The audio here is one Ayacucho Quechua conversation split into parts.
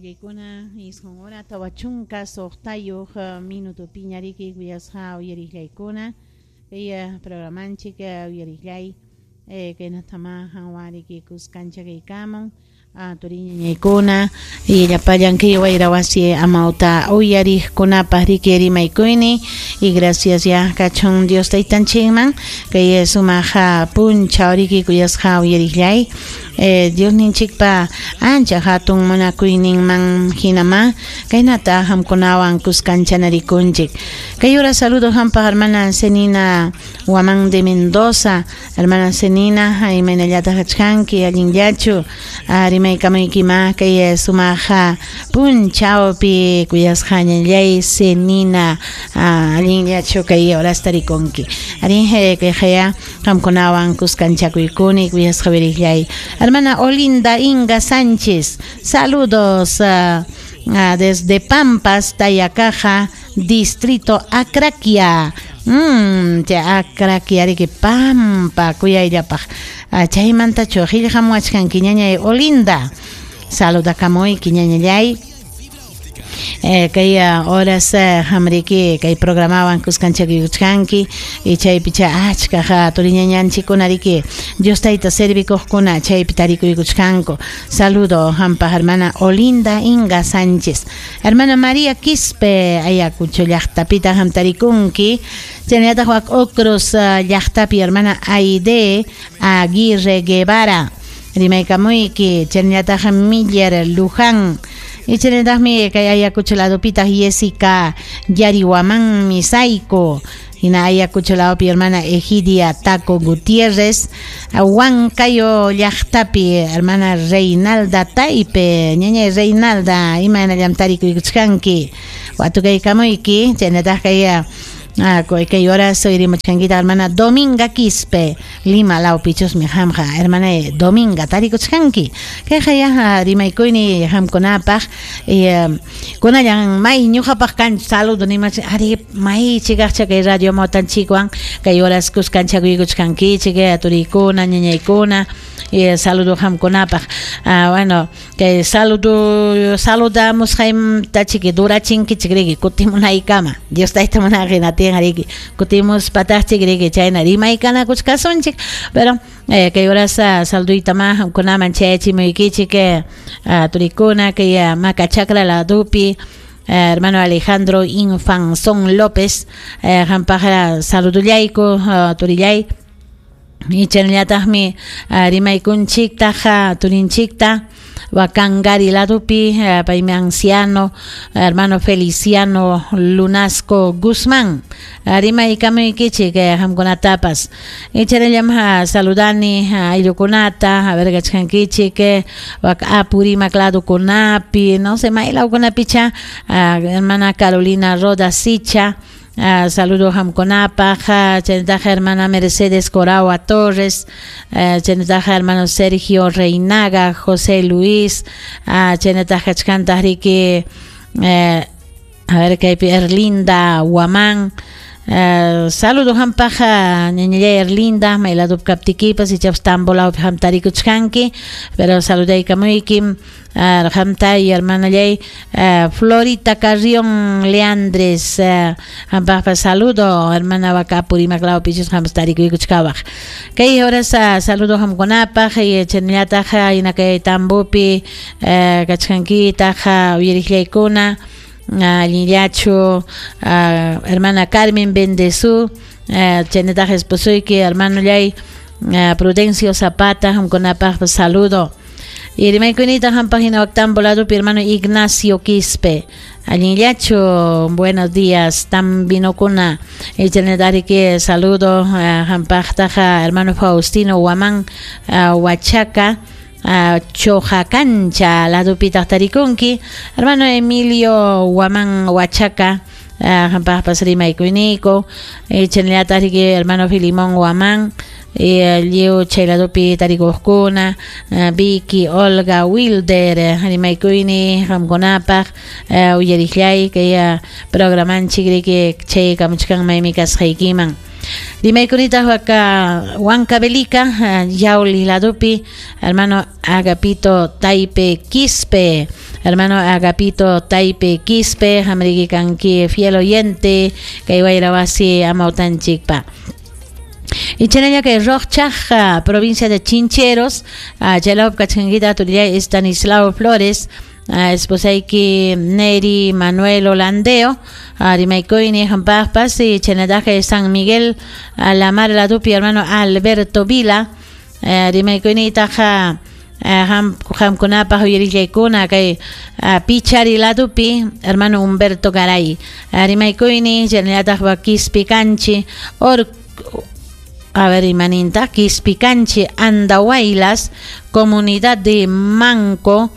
Uyariqllaykuna 9 hora 46 minutopiña riki kuyasqa uyariqllaykuna kay programanchik uyariqllay kaynatama qanwan riki kuskancha kaykamun turiñañaykuna y llapallan kay wayra wasi amawta uyariqkunapaq riki rimaykuyni y gracias ya kachun Dios taytanchikman kay sumaq punchaw riki kuyasqa uyariqllay Diosninchikpa ancha hatun munakuyninman hinama kaynata qamkunawan kuskanchanarikunchik. Kay hora saludo qampaq hermana Zenina Guamán de Mendoza, hermana Zenina, imaynallataq kachkanki, allinllachu rimaykamuykima kay sumaq punchawpi kuyasqa ñañallay Zenina, allinllachu kay horasta rikunki. Arí kayqaya qamkunawan kuskanchakuykuni kuyasqa uyariqllay. Hermana Olinda Inga Sánchez, saludos desde Pampas, Tayacaja, distrito Acraquia. Chay Acraquia riki Pampa kuyayllapaq. Chaymantachu qillqamuwachkanki ñañay Olinda. Saludakamuyki ñañallay. Kay horas qamriki kay programawan kuskanchakuykuchkanki y chaypi chay achka turiñañanchikkuna riki Dios tayta servikuqkuna chaypi tarikuykuchkanku. Saludo qampaq hermana Olinda Inga Sánchez. Hermana María Quispe Ayacucho llaqtapita qam tarikunki. Chaynallataq wak Ocros llaqtapi hermana Aide Aguirre Guevara. Rimaykamuyki chaynallataq Miller Luján. Y chaynallataqmi kay Ayacucho ladopitaq Jessica Yarihuamán Misaico. Hina Ayacucho ladopi hermana Egidia Taco Gutiérrez. Huancayo llaqtapi hermana Reinalda Taipe. Ñañay Reinalda imaynallam tarikuykuchkanki. Watukaykamuyki chaynallataq kay kay horas rimuchkankita hermana Dominga Quispe Lima lawpichusmi qamqa hermana Dominga tarikuchkanki. Kayqa ya rimaykuyni qamkunapaq kunallan may ñuqapaq kanchu saludo nimach ari may chikaqcha kay radio amawtanchikwan kay horas kuskanchakuykuchkankichik turiykuna ñañaykuna saludo qamkunapaq. Bueno, kay saludo saludamusqaymta chiki durachinkichik riki kutimunaykama Dios tayta munaqhina tiyan riki kutimuspataqchik riki chayna rimaykanakuchkasunchik pero kay horas saluduyta ma qamkunaman chayachimuykichik turikuna kay Maca Chacra ladupi hermano Alejandro Infanzón López qampaq saludullayku turillay. Y chaynallataqmi rimaykunchiktaq turinchikta Wakangari ladupi paymi anciano hermano Feliciano Lunasco Guzmán rimaykamuykichik qamkunatapas. Y chaynallam saludani ayllukunata a ver kachkankichik wak Apurímac ladukunapi no sé maylawkunapicha hermana Carolina Roda Sicha. Saludo qamkunapaq chaynallataq hermana Mercedes Coragua Torres, chaynallataq hermano Sergio Reinaga, José Luis, chaynallataq kachkantaq riki a ver kaypi Erlinda Guamán. Saludo qampaq ñañallay Erlinda mayladupi kaptikipas ichapas Tambolawpi qam tarikuchkanki pero saludaykamuyki qamta y hermanallay Florita Carrión Leandres qampaqpas saludo hermana waka Apurímac lawpichus qampas tarikuykuchkawaq. Kay horas saludo qamkunapaq y chaynallataq hina kay Tambopi kachkankitaq uyariqllaykuna allinllachu hermana Carmen Bendezú chaynallataq esposoyki hermanollay Prudencio Zapata qamkunapaq saludo. Y rimaykunita qampaq hina wak Tambo ladupi hermano Ignacio Quispe allinllachu buenos días tambinokuna y chaynallataq riki saludo qampaqtaq hermano Faustino Guamán Huachaca Chojacancha ladupitaq tarikunki hermano Emilio Guamán Huachaca qampaqpas rimaykuyniku chaynallataq riki hermano Filimón Guamán lliw chay ladupi tarikuqkuna Vicky Olga Wilder rimaykuyni qamkunapaq uyariqllay kay programanchik riki chay kamuchkan maymi kasqaykiman. Rimaykunitaq waka Huancavelica Yauli ladupi hermano Agapito Taipe Quispe Hermano Agapito Taipe Quispe, hamriki kanki fiel oyente, kay wayra wasi amawtanchikpa. Y chanalla kay Roqchaq, provincia de Chincheros, chaylawpi kachkankita turillay Estanislao Flores, esposayki Neri Manuel Holandeo, rimaykuyni hampaqpas, y chaynallataq San Miguel La Mar ladupi hermano Alberto Vila, rimaykuynitaq hamkunapaq uyarillaykuna kay Pichari ladupi hermano Humberto Garay, rimaykuyni chaynallataq Quispicanchi a ver, imaninta, Quispicanchi, Andahuaylas, comunidad de Manco,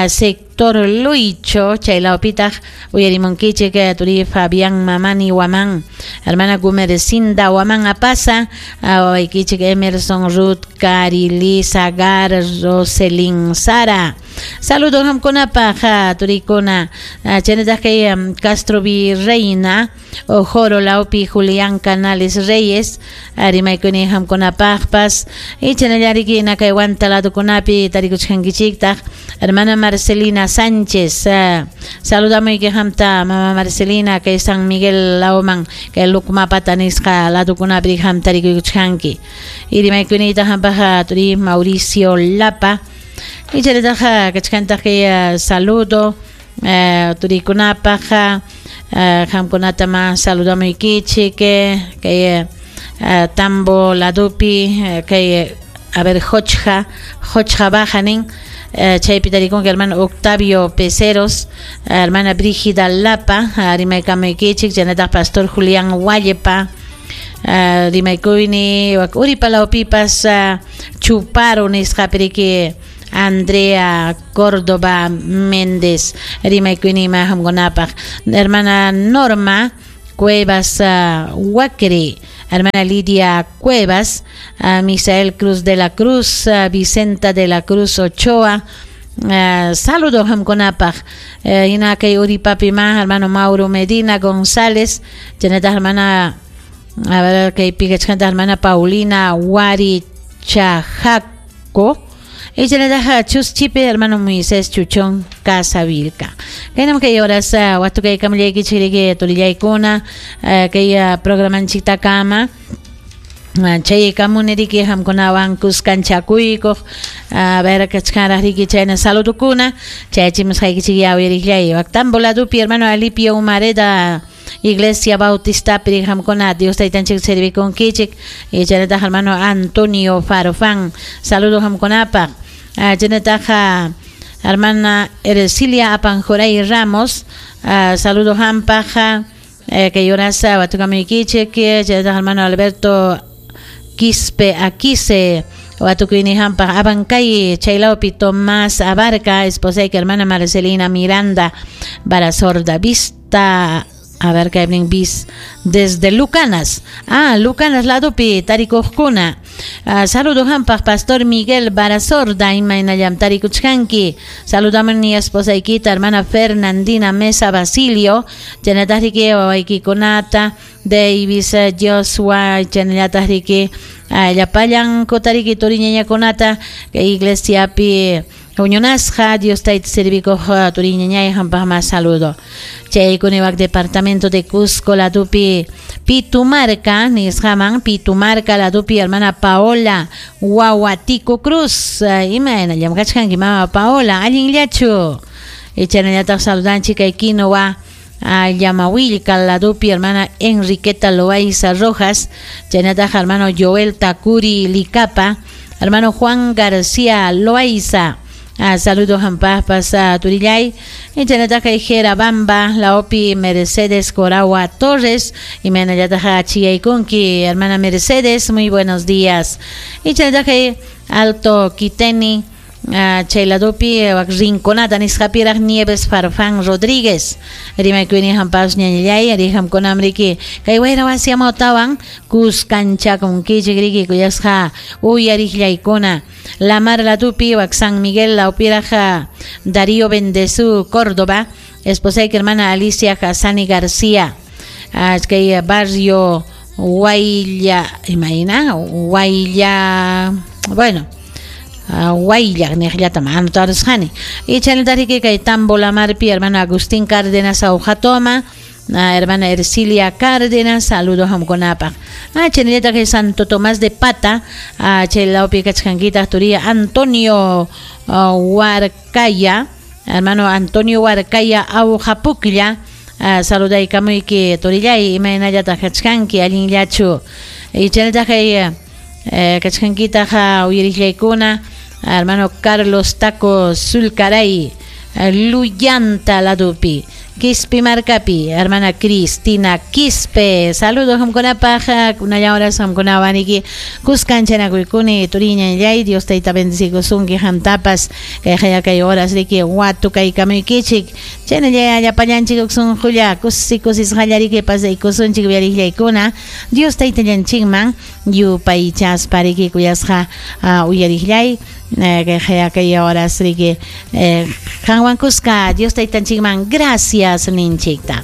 sector Luicho, chaylawpitaq uyarimunkichik turi Fabián Mamani Huamán, hermana Gumercinda Huamán Apaza, wawaykichik Emerson Ruth Carilisa Gar Roselin Sara. Saludos hamkunapaq turikuna, chaynataq kay Castro Virreina, Ojoro lawpi Julián Canales Reyes, rimaykuni hamkunapaqpas, y chaynallariki kay Huanta ladukunapi tarikuchkankichiktaq, hermana Marcelina Sánchez, saludamuyki hamta mama Marcelina kay San Miguel lawman kay Lucmapata nisqa ladukunapi hamta rikuykuchkanki. Y rimaykunita hampaq turi Mauricio Lapa. Y chaynallataq kachkantaq kay saludo turikunapaq, hamkunata ma saludamuykichik kay Tambo ladupi kay a ver Hochja Baja nin, chaypi tarikunki hermano Octavio Peceros, hermana Brígida Lapa, rimaykamuykichik, chaynataq pastor Julián Huallepa, rimaykuyni Uripa lawpipas Chuparo nisqapiriki Andrea Córdoba Méndez, rimaykuyni ma hamkunapaq, hermana Norma Cuevas Huacre, hermana Lidia Cuevas, Misael Cruz de la Cruz, Vicenta de la Cruz Ochoa, saludos hamkunapaq, hina kay Uripapi ma hermano Mauro Medina González, chaynataq hermana, a ver kay pikachkanta hermana Paulina Wari Chajaco, y chaynataq Chuschipe hermano Moisés Chuchón Casavilca. Kaynam kay horas watu kay kamllaykichik turillaykuna kay programanchiktakama chay kamuniriki hamkunawan kuskanchakuykuq, a ver kachkanraq riki chayna saludukuna chayachimusqaykichik yawiriqllay. Tambo ladupi hermano Alipio Humareda, Iglesia Bautista piri hamkuna Dios taytanchik servikunkichik, y chaynataq hermano Antonio Farofán, saludos hamkunapaq. Chaynataq hermana Ercilia Apanjoray Ramos, saludos hampaq, kay horas watukamuykichik, chaynataq hermano Alberto Quispe Aquise, watukuyni hampaq Abancay chaylawpi Tomás Abarca, esposayki hermana Marcelina Miranda Barasorda Vista, a ver kay bis desde Lucanas, Lucanas ladupi tarikuqkuna, saludos hampaq pastor Miguel Barasorda, imaynallam tarikuchkanki, saludamuni esposaykita hermana Fernandina Mesa Basilio, chaynataq riki wawaykikunata Davis Joshua, chaynallataq riki llapallankuta riki turiñañakunata kay iglesiapi huñunasqa Dios tayta servikuq turiñañay hampaq ma saludo. Chaykuni wak departamento de Cusco ladupi Pitumarca nisqaman, Pitumarca ladupi hermana Paola Wahuatico Cruz, imaynallam kachkanki mama Paola, allinllachu. Chaynallataq saludanchik kay Quinoa Yamawilca ladupi hermana Enriqueta Loaiza Rojas, chaynataq hermano Joel Takuri Licapa, hermano Juan García Loaiza, saludos hampaspas turillay, chaynataq kay Jera Bamba laopi Mercedes Coragua Torres, y imaynallataq chiyaykunki hermana Mercedes, muy buenos días. Y chaynataq kay Alto Quiteni chayladupi Rinconada nisqapiraq Nieves Farfán Rodríguez, rimaykuyni hampas ñañallay rihamkunamriki kay wayra wasi amawtawan kuskanchakunkichik riki kuyasqa uyariqllaykuna. La Mar ladupi wak San Miguel lawpiraq Darío Bendezú Córdoba, esposayki hermana Alicia Hassani García, kay barrio Huaylla, imagina, Huaylla, bueno, Wayllaq niqllatam anotarusqani. Y chaynallataq kay Tambo Lamarpi hermano Agustín Cárdenas Aujatoma, hermana Ercilia Cárdenas, saludos qamkunapaq. Chaynallataq Santo Tomás de Pata, chay lawpi kachkankitaq turiya Antonio Huarcaya, hermano Antonio Huarcaya Aujapuklla, saludaykamuyki turillay, imaynallataq kachkanki, allinllachu. Y chaynallataq kachkankitaq uyariqllaykuna, hermano Carlos Taco Zulcaray, Luyanta ladupi, Quispe Marcapi, hermana Cristina Quispe, saludos qamkunapaq, kunalla horas qamkunawaniki kuskanchanakuykuni turiñallay, Dios tayta bendecikusunki qamtapas, kay kay horas riki watukaykamuykichik, chaynalla llapallanchik sunqulla kusi kusisqallariki pasaykusunchik uyariqllaykuna, Dios taytallanchikman yupaychaspa riki kuyasqa uyariqllay, kay kay horas riki qanwan kuska Dios taytanchikman gracias ninchikta.